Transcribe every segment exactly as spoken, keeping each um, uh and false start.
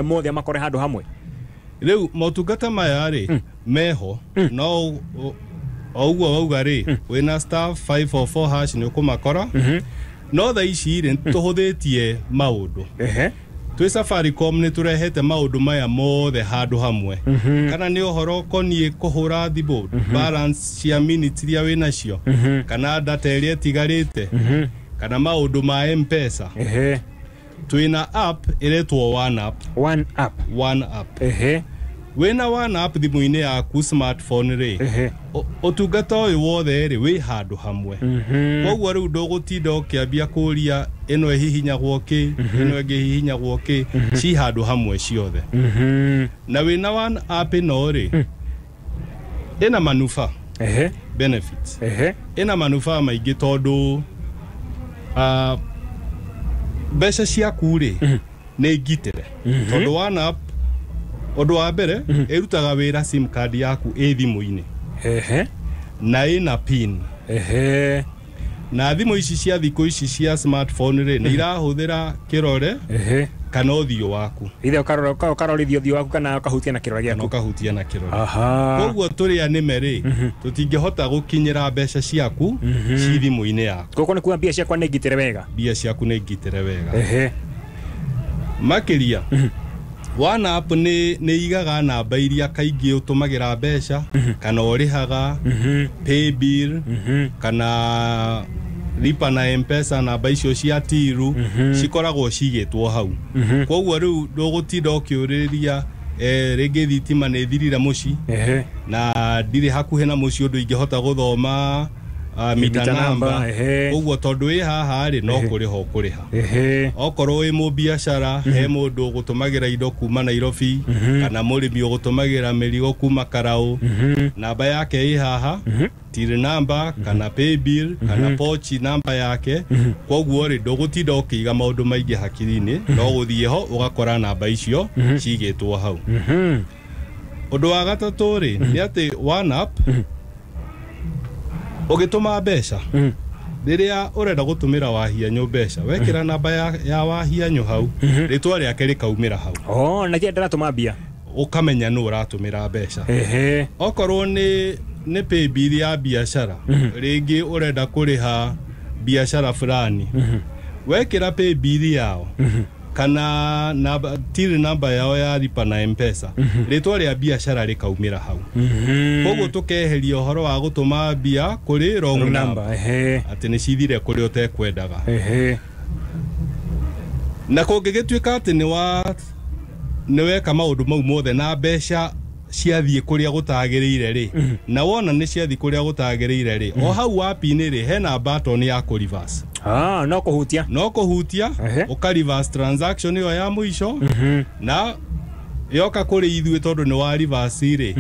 Mothe makore handũ hamwe. Rĩu motungata maya rĩ meho, no o ũguo wauga rĩ, wĩna star five four four hash nĩ ũkũmakora. No thaa ici rĩ, tũhũthĩtie maũndũ. Ehe twĩ Safaricom nĩ tũrehete maũndũ maya mothe handũ hamwe, kana nĩ ũhoro ũkoniĩ kũhũra thimũ, balance cia minutes iria wĩ nacio, kana data ĩrĩa ĩtigarĩte, kana maũndũ ma M-Pesa. Ehe Twĩna app ĩretwo One App. One App. One App. Ehe Wĩna One App thimũ-inĩ yaku, smartphone rĩ, ehe ũ- ũtungata ũyũ wothe rĩ wĩ handũ hamwe. Koguo rĩu ndũgũtinda ũkĩambia kũria ĩno ĩhihinyagwo kĩ, ĩno ĩngĩ ĩhihinyagwo kĩ, ci handũ hamwe ciothe. Na wĩna One App ĩno rĩ, ĩna manufaa, ehe benefits, ehe ĩna manufaa maingĩ tondũ ah, mbeca ciaku rĩ nĩ ngitĩre, tondũ One App, ũndũ wa mbere, ĩrutaga wĩra sim card yaku ĩ thimũ-inĩ ehe na ĩna pin. Ehe Na thimũ ici cia thikũ ici cia smartphone rĩ, nĩ irahũthĩra kĩrore ehe kana ũthiũ waku. Ithe ũkarora, ũkarorithia ũthiũ waku kana ũkahutia na kĩrore Kana gĩaku. Ũkahutia na kĩrore. Aha koguo tũrĩ anĩme rĩ, tũtingĩhota gũkinyĩra mbeca ciaku ci thimũ-inĩ yaku. Gũkũ nĩ kuga mbia ciakwa nĩ ngitĩre wega. Mbia ciaku nĩ ngitĩre wega. Ehe Makĩria, One App nĩ nĩ igaga namba iria kaingĩ ũtũmagĩra mbeca kana ũrĩhaga, pay bill kana lipa na M-Pesa, namba icio cia till cikoragwo cigĩtwo hau. Koguo rĩu ndũgũtinda ũkĩũrĩria, eh, rĩngĩ thitima nĩ thirire mũciĩ ehe na ndirĩ hakuhĩ na mũciĩ ũndũ ingĩhota gũthoma uh, mita mita namba. Namba, ehe. Ũguo tondũ wĩ haha rĩ, no kũrĩha ũkũrĩha. Ehe okorwo wĩ mũbiacara, he mũndũ ũgũtũmagĩra indo kuma Nairobi kana mũrĩmi ũgũtũmagĩra mĩrigo kuma Karaũ, namba yake ĩ haha, till number kana pay bill kana pochi namba yake. Koguo rĩ, ndũgũtinda ũkĩiga maũndũ maingĩ hakiri-inĩ, no gũthiĩ ho ũgakora namba icio cigĩtwo hau. Ũndũ wa gatatũ rĩ, nĩ atĩ One App, ũgĩtũma mbeca, rĩrĩa ũrenda gũtũmĩra Wahianyũ mbeca, wekĩra namba ya, ya Wahianyũ hau, rĩtwa rĩake rĩkaumĩra hau. Oh, na kĩa ndĩratũma mbia. Ũkamenya nũ ũratũmĩra mbeca. Ehe Okorwo nĩ nĩ pay bill ya biacara, rĩngĩ ũrenda kũrĩha biacara fulani, wekĩra pay bill yao kana namba, till namba yao ya lipa na M-Pesa, rĩtwa rĩa biacara rĩkaumĩra hau. Koguo tũkeheria ũhoro wa gũtũma mbia kũrĩ wrong number, namba, ehe atĩ nĩ cithire kũrĩa ũtekwendaga. Ehe Na kũngĩgĩtuĩka atĩ nĩ wa nĩ weka maũndũ mau mothe na mbeca ciathiĩ kũrĩa gũtagĩrĩire rĩ, na wona nĩ ciathiĩ kũrĩa gũtagĩrĩire rĩ, o hau app-inĩ rĩ, hena button ya kũ reverse. Ah, no kũhutia. No kũhutia, Ehe. ũka reverse transaction ĩyo ya mũico, na yoka kũrĩ ithuĩ, tondũ nĩ wa reverse rĩ,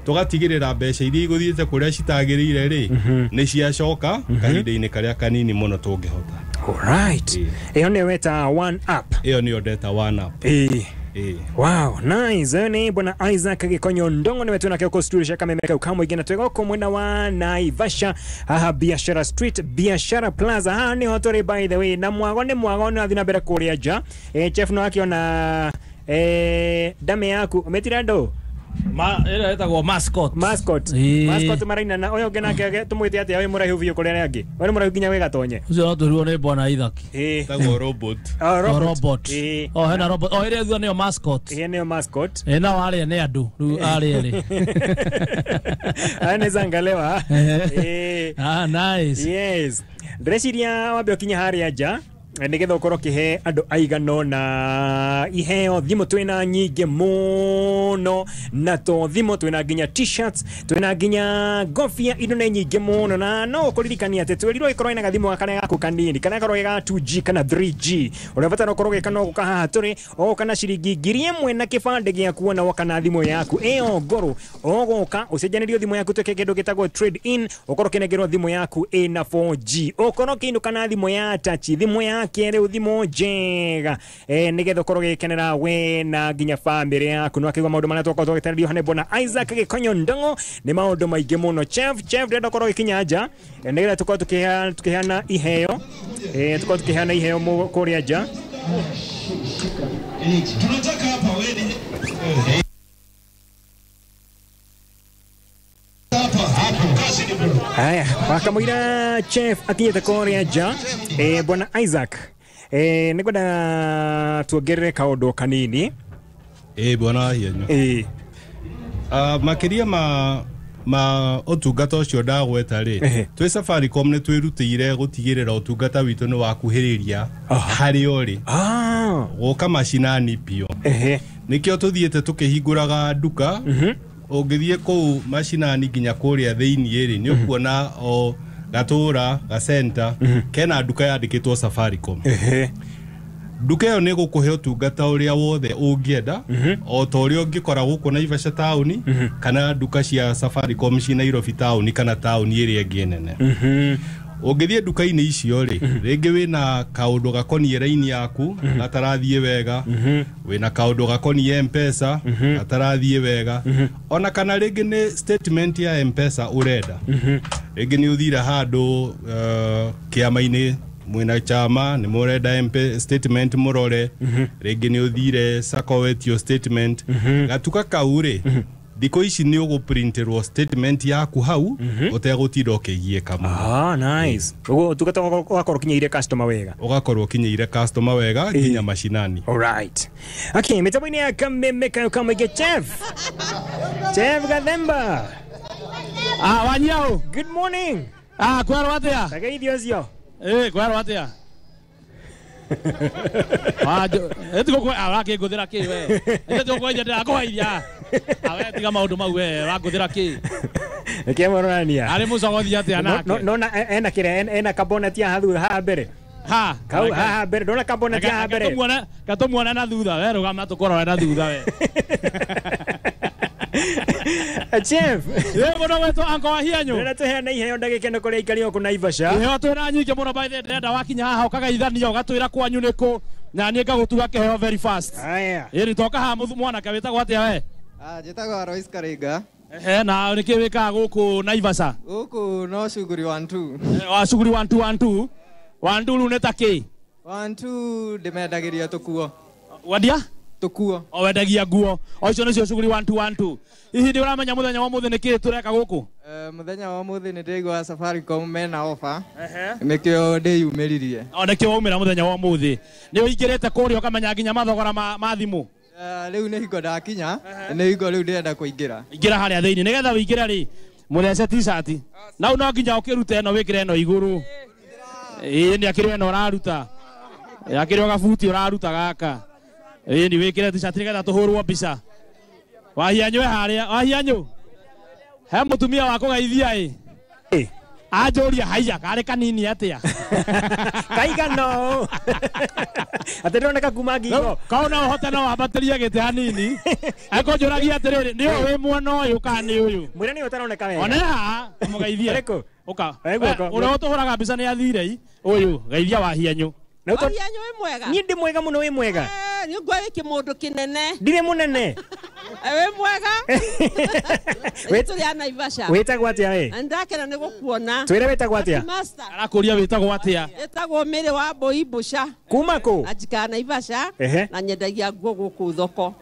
tũgatigĩrĩra mbeca iria igũthiĩte kũrĩa citagĩrĩire rĩ, nĩ ciacoka kahinda-inĩ karĩa kanini mũno tũngĩhota. Alright, ĩyo nĩyo weta One App. Ĩyo nĩyo ndeta One App. Ĩĩ. Ĩĩ. Wow, nice. Ĩyo nĩ bwana Isaac Gĩkonyo Ndongo nĩwe twĩnake gũkũ studio cia Kameme kau kamũingĩ, na twĩ gũkũ mwena wa Naivasha haha Biashara Street, Biashara Plaza, haha nĩho tũrĩ, by the way. Na mwago nĩ mwago nĩ wathiĩ na mbere kũrĩa nja. Eh, chef no akĩona eh, ndame yaku ũmĩtire andũ. Ma ĩrĩa ĩtagwo Mascot. Mascot. Ĩĩ. Mascot maraina na ũyũ ũngĩ nake tũmwĩte atĩa, ũyũ mũraihu biũ kũrĩ arĩa angĩ, ũyũ nĩ mũraihu nginya wĩ gatonye? Ũcio no twĩrirwo nĩ bwana Isaac. Ĩĩ. Ĩtagwo robot. Oh, O robot. robot. Ĩĩ. O hena robot. O ĩrĩa thutha nĩyo mascot. Ĩĩ, nĩyo mascot. Ĩ nao arĩa nĩ andũ rĩu arĩa erĩ. Aya nĩ zangalewa. Ĩĩ. Ah, nice. Yes, ndĩreciria wambe ũkinye harĩa nja eh, nĩgetha ũkorwo ũkĩhe andũ aigana ũna iheo. Thimũ twĩna nyingĩ mũno, na to thimũ, twĩna nginya T-shirts, twĩna nginya ngobia, indo nĩ nyingĩ mũno. Na no ũkũririkania atĩ twĩrirwo ĩkorwo ĩna gathimũ gaka gaku kanini, kana gakorwo ga two G kana three G. Ũrĩa ũbatara ũkorwo ũgĩka no gũka haha tũrĩ, ũgoka na ciringi ngiri ĩmwe na kĩbandĩ gĩaku, ona woka na thimũ yaku ĩyo ngũrũ, ũgũka ũcenjanĩrio thimũ yaku, twĩke kĩndũ gĩtagwo trade in, ũkorwo ũkĩnengerwo thimũ yaku ĩna four G, ũkorwo ũkĩinũka na thimũ ya touch, thimũ ya kĩrĩu, thimũ njega, eh, nĩgetha ũkorwo ũgĩkenera we na nginya bamĩrĩ yaku. Nĩ wakĩigua maũndũ marĩa twakorwo tũgĩtarĩrio hane bwana Isaac Gĩkonyo Ndong'o, nĩ maũndũ maingĩ mũno. Chef, chef, ndĩrenda ũkorwo ũgĩkinya nja, eh, nĩgetha tũkorwo tũkĩheana tũkĩheana iheo, eh, tũkorwo tũkĩheana iheo mũ- kũrĩa nja. Tunataka hapa we Haya, wakamwira chef akinyĩte kũrĩa nja. Eh, bwana Isaac, eh, nĩngwenda tuongerere kaũndũ kanini. Ĩ bwana Hienyo. Eh, Uh, makiria ma ma ũtungata ũcio ndagweta rĩ, Ehe. twĩ Safaricom nĩ twĩrutĩire gũtigĩrĩra ũtungata witũ nĩ wakuhĩrĩria harĩa ũrĩ ah, gũka macinani biũ. Ehe. Nĩkĩo tũthiĩte tũkĩhingũraga nduka. Ũngĩthiĩ kũu macinani nginya kũrĩa thĩiniĩ rĩ, nĩ ũkuona o gatũra gacenta kena nduka yandĩkĩtwo Safaricom. Ehe. Nduka ĩyo nĩ gũkũhe ũtungata ũrĩa wothe ũngĩenda, o ta ũrĩa ũngĩkora gũkũ Naivasha taũni kana nduka cia Safaricom ci Nairobi taũni kana taũni ĩrĩa ĩngĩ nene. Ũngĩthiĩ nduka-inĩ icio rĩ, rĩngĩ wĩna kaũndũ gakoniĩ raini yaku gatarathiĩ wega, wĩna kaũndũ gakoniĩ M-Pesa gatarathiĩ wega, ona kana rĩngĩ nĩ statement ya M-Pesa ũrenda, rĩngĩ nĩ ũthire handũ uh, kĩama-inĩ mwĩna chama nĩ mũrenda M P statement mũrore, rĩngĩ nĩ ũthire sacco wetio statement, gatuka kau rĩ, thikũ ici nĩ ũgũprinterwo statement yaku hau ũtegũtinda ũkĩgiĩka mũno. Ah, nice. Ũguo ũtungata ũgakorwo ũkinyĩire customer wega. Ũgakorwo ũkinyĩire customer wega nginya macinani. Alright. Okay, mitambo-inĩ ya Kameme kayo kamwĩngĩ chef. Chef Gathemba. Ah, wanyau. Good morning. Ah, kwerwo atia? Tageithio ũcio. Eh, kwerwo atia? Ah, etigo kwe arakĩngũthĩra kĩ we? Etigo kwenja ndĩrakũgeithia. Ah, we tiga maũndũ mau we, ũrangũthĩra kĩ? Nĩkĩo mũronania. Arĩ mũcogothi atĩa nake? Nona ena kĩrĩa ena kaboneti haha thutha haha mbere. Ha, Kau haha mbere, ndona kaboneti haha mbere. Katũmuone, katũmuone na thutha we, rũgama tũkũrore na thutha we. Chef. Ĩ mũno gwetwo Uncle Wahianyũ. Ndĩrenda tũheane iheo ndagĩka ĩno kũrĩa aikari gũkũ Naivasha. Iheo twĩna nyingĩ mũno by the way, ndĩrenda wakinya haha ũkageithania ũgatwĩra kwanyu nĩkũ na niĩ ngagũtuga kĩheo very fast. Haya. Ĩni toka haha mũthu mwanake wĩtagwo atĩa we? Ah, njĩtagwo Alois Karinga. Ehe, na nĩkĩ wĩkaga gũkũ Naivasha? Gũkũ no shughuli one two. Eh, wa shughuli one two one two. One two rĩu nĩ ta kĩ? One two ndĩmendagĩria tũkuo. Wendia? Tũkuo. O wendagia nguo. O icio nĩcio shughuli one two one two. Hihi nĩ ũramenya mũthenya wa ũmũthĩ nĩkĩ tũreka gũkũ? Eh, mũthenya wa ũmũthĩ nĩ ndĩraigua Safaricom mena offer. Nĩkĩo ndĩyumĩririe. O nĩkĩo waumĩra mũthenya wa ũmũthĩ. Nĩ ũingĩrĩte kũrĩa ũkamenya nginya mathogora ma, ma thimũ. Eh, rĩu nĩ hingo ndakinya, nĩ hingo rĩu ndĩrenda kũingĩra. Ingĩra harĩa thĩinĩ nĩgetha wĩingĩre rĩ mũthece t-shirt. Nau no nginya ũkĩrute ĩno wĩkĩre ĩno igũrũ. Ĩĩ nĩ akĩrĩ ĩno ũraruta. Akĩrĩ o gabuti ũraruta gaka. Ĩĩ nĩ wĩkĩre t-shirt nĩgetha tũhũrwo mbica. Wahianyũ e harĩa, Wahianyũ. He mũtumia wa kũgeithia ĩ. Ĩ. Anjũria haiya karĩ kanini atĩa. Kaigana ũũ. Atĩ ndĩroneka kuma ngingo. Kau no ũhote no wambatĩrie gĩtĩ hanini. Ekũnjũragia atĩrĩrĩ, nĩ ũyũ wĩ mwena ũyũ kana nĩ ũyũ? Mwĩre nĩ ũtaroneka wega. One haha, mũgeithie. Ũrĩkũ? Ũka. Eh, guoko. Ũrĩa ũtũhũraga mbica nĩ athire i. Ũyũ, geithia Wahianyũ. Na ũto- Wahianyũ wĩ mwega? Niĩ ndĩ mwega mũno, wĩ mwega. Eh, nĩ ngwa wĩ kĩmũndũ kĩnene. Ndirĩ mũnene. Eh, wĩ mwega? Wĩ- Tũrĩ a Naivasha. Wĩtagwo atĩa we? Na nĩndakena nĩ gũkuona. Twĩre wĩtagwo atĩa? Master. Arakũria wĩtagwo atĩa? Ĩtagwo Mĩrĩ wa Mbũi Mbũca. Kuma kũ? Na njikaraga Naivasha. Ehe. Na nyendagia nguo gũkũ thoko.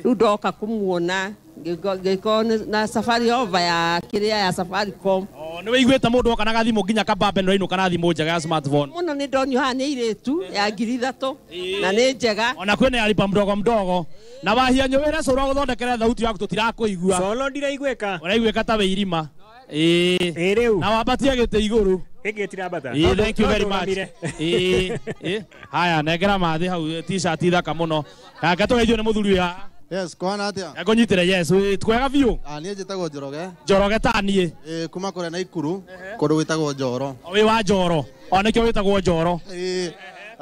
Rĩu ndoka kũmuona ngĩkorwo na safari over ya kĩrĩa ya Safaricom. O, nĩ wĩiguĩte mũndũ oka na gathimũ nginya kabambe nĩ ũrainũka na thimũ njega ya smartphone. Mũno nĩ ndonio haha nĩ airĩtu ya ngiri ithatũ na nĩ njega. Ona kwĩna ya lipa mdogo mdogo. Na Wahianyũ wĩre cũrũ agũthondekere thauti yaku tũtirakũigua. Solo ndiraiguĩka. Ũraiguĩka ta wĩ irima. Ĩĩ. Ĩ rĩu. Na wambatie gĩtĩ igũrũ. Gĩkĩ gĩtirambata. Ĩĩ, thank you No very much. ndũgamire. Ĩĩ, ĩĩ. Haya, nengera mathĩ hau t-shirt thaka mũno. Kaka tũgeithio nĩ mũthuri ũyũ haha. Yes, kwana atia? Ngũnyitĩre yes, wĩ twega biũ. Ah, niĩ njĩtagwo Njoroge. Njoroge ta niĩ. Ĩ kuma kũrĩa Naikuru, kũndũ gwĩtagwo Njoro. O wĩ wa Njoro. O nĩkĩo wĩtagwo Njoro. Ĩ,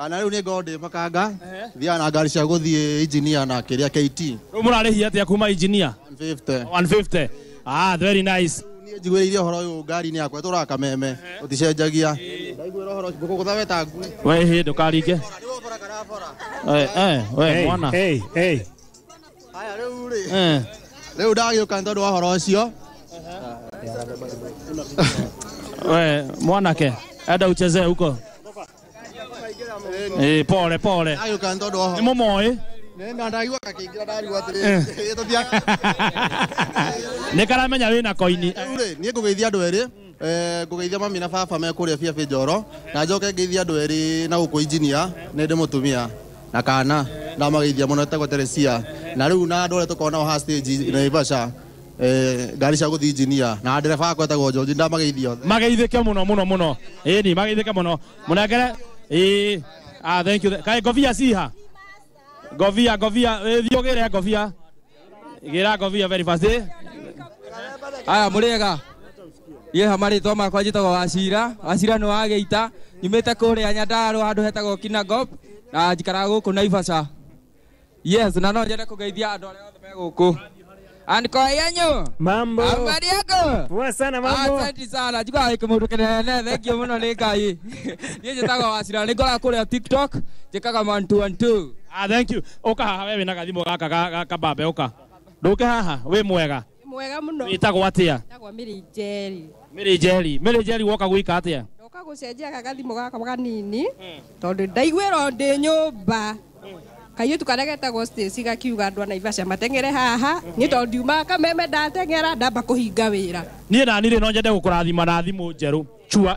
na rĩu nĩ ngorwo ndĩ makanga, thiaga na ngari cia gũthiĩ engineer na kĩrĩa K T. Rĩu mũrarĩhia atĩa kuma engineer? one fifty. one fifty. Ah, very nice. Niĩ njiguĩrĩire ũhoro ũyũ ngari-inĩ yakwa ĩtũraga kameme, ũticenjagia. Ndaiguĩra ũhoro ũcio, ngũkũgũtha we ta ngui. We hĩ, ndũkaringe. Eh, eh, we mwana. Hey, hey. Haya rĩu rĩ. Eh. Rĩu ndagĩũka nĩ tondũ wa ũhoro ũcio. We mwanake, enda uchezee huko. Eh, pole pole. Ndagĩũka nĩ tondũ wa Nĩ ũhoro. mũmoĩ? Nĩ ndaigua gakĩingĩra ndarigwo atĩrĩrĩ, tũthiaga. Nĩ karamenya wĩna koini. Rĩu rĩ, niĩ ngũgeithia andũ erĩ. Eh, ngũgeithia mami na baba me kũrĩa biabi Njoro, na njoke ngeithia andũ erĩ na gũkũ injinia, nĩ ndĩ mũtumia na kana ndamageithia mũno, etagwo Teresia, na rĩu na andũ arĩa tũkoragwo nao haha stage Naivasha, eh, ngari cia gũthiĩ injinia, na ndereba wakwa etagwo George, ndamageithia othe. Mageithĩke mũno mũno mũno. Ĩni mageithĩke mũno, mũnengere. Ĩĩ, ah, thank you. Kaĩ ngobia ciha? Ngobia, ngobia, thiĩ ũgĩre ngobia, gĩra ngobia very fast, ĩ. Aya, mũrĩega? Niĩ marĩtwa makwa njĩtagwo Wacira. Wacira nĩ wa Geita, nyumĩte kũrĩa Nyandarũa handũ hetagwo Kinangop, na njikaraga gũkũ Naivasha. Yes, na no nyende kũgeithia andũ arĩa othe me gũkũ. Anko yenyu. Mambo. Habari yako? Poa sana, mambo. Asante sana. Njiguaga wĩ kĩmũndũ kĩnene, thank you mũno nĩ Ngai. Niĩ njĩtagwo Wacira, nĩ ngoragwo kũrĩa TikTok, njĩkaga one two one two. Ah, thank you. Ũka haha, we wĩna gathimũ gaka ga kabambe, ũka. Ndũke haha, wĩ mwega? Mwega mũno. Wĩtagwo atĩa? Njĩtagwo Mary Njeri. Mary Njeri. Mary Njeri, woka gwĩka atĩa? Ndoka gũcenjia gagathimũ gaka kanini, tondũ ndaiguĩrwo ndĩ nyũmba kairĩtu karĩa getagwo Stacy gakiuga andũ a Naivasha mateng'ere haha. Niĩ tondũ ndiumaga Kameme, ndateng'era ndamba kũhinga wĩra. Niĩ nani rĩ, no nyende gũkũrathima na thimũ njerũ chua.